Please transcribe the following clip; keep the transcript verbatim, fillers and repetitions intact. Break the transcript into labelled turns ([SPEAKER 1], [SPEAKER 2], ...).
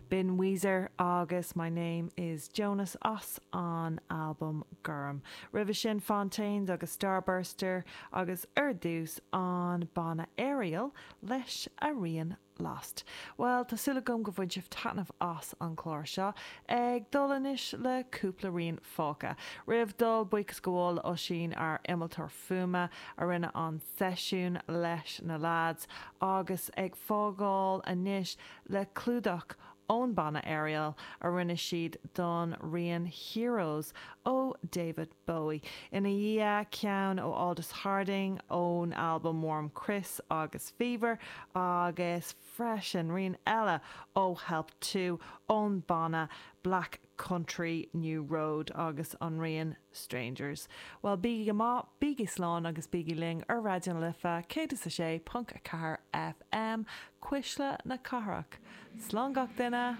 [SPEAKER 1] B'in Weezer agus My Name is Jonas as an albam Gorm. Roimhe sin Fontaines agus Starburster agus ar dtús an banna Ariel leis an rian Lost. Well tá súil agam gur bhain sibh taitneamh as an chlár seo ag dul anois le cúpla rian fágtha. Roimh dul buíochas a ghabháil Oisín ár innealtóir fuaime a rinne an seisiún leis na lads agus ag fágáil anois le clúdach ón banna Ariel a rinne siad don rian Heroes ó David Bowie. Ina dhiaidh ceann ó Aldous Harding ón album Warm Chris agus Fever agus freisin rian eile ó Help Two ón banna Black Country New Road agus an rian Strangers. Well bígí go maith, bígí slán agus bígí linn ar Raidió na Life céad is a sé ponc a ceathair FM Cuisle na Cathrach. Slán gach duine!